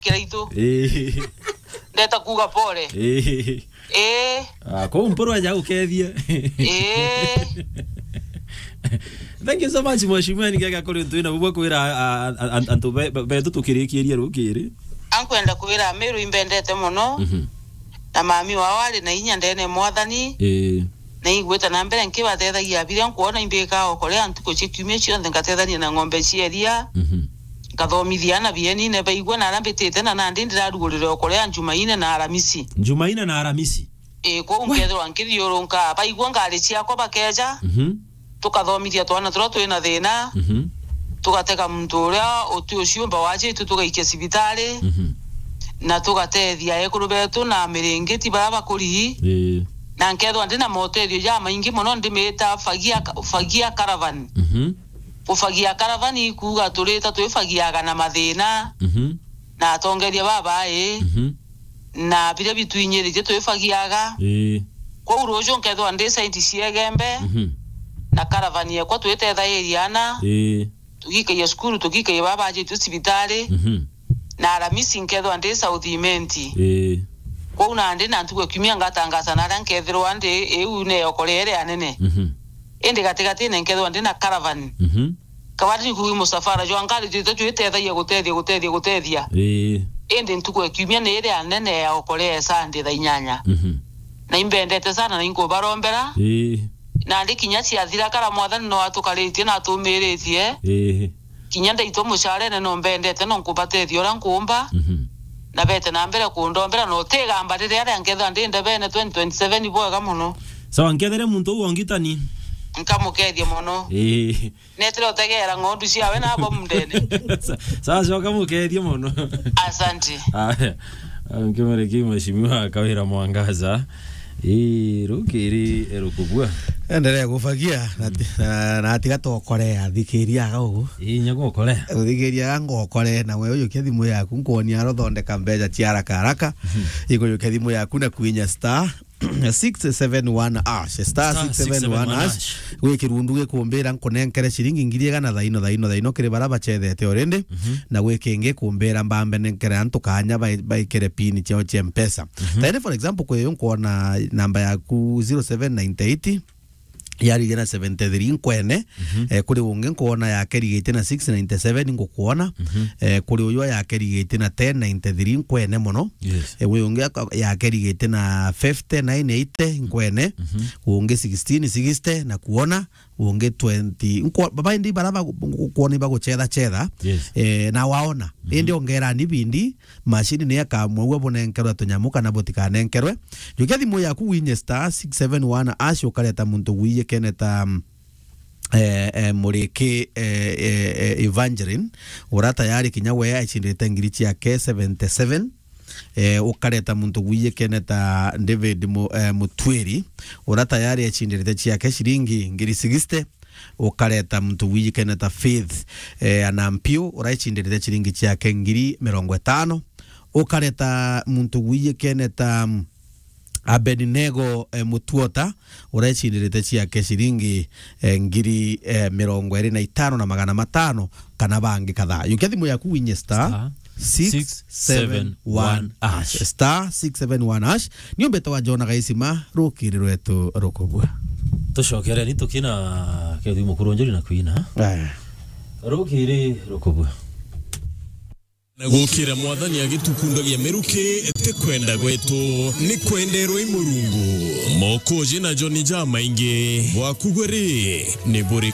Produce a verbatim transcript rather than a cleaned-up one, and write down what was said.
kiraitu. Ii. Ndeta kuuga pole. Ii. Ii. Ah, kou Mpuru aja gukethia. Ii. Thank you so much, Mheshimiwa. Ni kega kuri twina bubwa kwira, a, a, a, antu be, be, betu tukirikiria rukiri. Ankwenda kwira Meru imbendete mono. Mhm. Na mami wao ari na inya ndene Mwathani. Ii. Na igwita na mbere nkibatethagia biria nkwona imbika okorea ntuku cia kiumia cionthe, ngatethania na ng'ombe cia iria. Mhm. Nkathomithia ana bienine baigua na aria mbitite, na nandi ndirarugurire okorea Njumaine na Aramisi. Njumaine na Aramisi? Ii, kwou nkethirwa nkithiurunka, baigua ngari ciakwa bakeja. Mhm. Tukathomithia twana turia twina thina. Mhm. Tugatega muntu uria uti uciumba wajitu, tugaikia cibitari. Mhm. Na tugatethia ekuru betu na miringiti baria bakuri. Ii. Na nkethwa ndi na motethio jamaingi mono, ndimita fagia, fagia caravan. Mhm. Kufagia caravan ikuuga turita twifagiaga na mathina. Mhm. Na atongeria babai. Mhm. Na biria bitwinyiritie twifagiaga. Ii. Kwou ruju nkethwa ndi side cia Igembe. Mhm. Na caravan yekwa twitethairia ana. Ii. Tugikaia cukuru, tugikaia baba ajitwe cibitari. Mhm. Na Aramisi nkethwa ndi South Imenti. Ii. Kwou nandi na ntuku ya kiumia ngatangaza na aria nkethirwa ndi iu ne okorea iria anene. Mhm. Indi gatigatine nkethwa ndi na caravan. Mhm. Kabati ni kuuga musafara jwa ngari jwite jwitethagia gutethia, gutethia, gutethia. Ii. Indi ntuku ya kiumia ni iria nene ya okorea Sunday thaa inyanya. Mhm. Na imbendete sana na inkubarombera. Ii. Nandi kinya ciathira kara Mwathani no atukaritie na atumiritie. Ii. Kinya ndaitwa mucarene no mbendete no nkubatethia uria nkuumba. Mhm. Na bete na mbere kundombera, no utigamba riria aria nkethwa ndi ndebene twenty twenty-seven bwega mono. Sawa, nkethere muntu uu ongitani. Nkamukethia mono. Ii. Netire utegera ng'ondu ciawe nabo mundene. Sa-, sawa, coka mukethie mono. Asante. Aya. Nkimuriki Mheshimiwa Kawira Mwangaza. Ii, rukiri rukubua. Endelea kufagia, na ti-, na, na tiga tokorea, thikiria aga ugu. Ii, nyago okorea. Uthikiria aga ngokore, na we ujukia thimu yaku, nkuonia aro thondeka mbeca cia haraka haraka. Mhm. Ikujukia thimu yaku na kwinya star six seven one hash, star six seven one hash. Gwi kirundu gikumbira nkunenkere ciringi ngiri igana thaino, thaino, thaino kiri bara bachethete already, mhm, na gwi kingi kumbira mbambe nenkere antu kanya bai-, baikire pin ciao cia Mpesa. Mhm. Thaini, for example, kwi uyu nkwona namba yaku zero seven nine eight, yari igana seventy-three nkwene, mhm, eh, kuri ungi nkwona yake rigite na six ninety-seven ngukwona, mhm, eh, kuri uyu yake rigite na ten ninety-three nkwene mono. Yes. Eh, wi ungi aka-, yake rigite na fifty nine eighty nkwene, mhm, ungi sixteen sixty na kuona, ungi twenty. Nkwa-, baba indi bara bagu-, ngukwona ibaguchetha chetha, yes, eh, na waona. Mhm. Indi ongerani bindi, machine ni akamwagua bunenkerwe tunyamu kana butikanenkerwe. Jukia thimu yaku winye star six seven one hash, ukareta muntu gwiye keneta, mm, eh, eh, Muriki, eh, eh, eh, Evangeline, ura tayari kinya we aicindite ngiri ciake seventy-seven. Eh, ukareta muntu gwiye keneta David Mu-, eh, Mutwiri, ura tayari aicindite ciake ciringi ngiri sixty. Ukareta muntu wijikene ta Faith, eh, Anampiu, uraicindirite ciringi ciake ngiri mirongo itano. Ukareta muntu wijikene ta, mm, Abednego, eh, Mutuota, uraicindirite ciake ciringi, eh, ngiri, eh, mirongo iri na itano na magana matano, kana bangi kadhaa. Yukia thimu yaku winye star six seven one hash. Star six seven one hash. Ni umbete wa Jona Gaisima, rukiri rwetu rukubua. Tucokereni tukina Kethi Mukuru Njuri na kwina. Aya. Rukiri rukubua. Na gukira Mwathani agitukundagia miruki, ti kwenda gwetu, ni kwenderwa i Murungu. Mokoji na Joni jamaingi, bwaku gwe ri, ni buri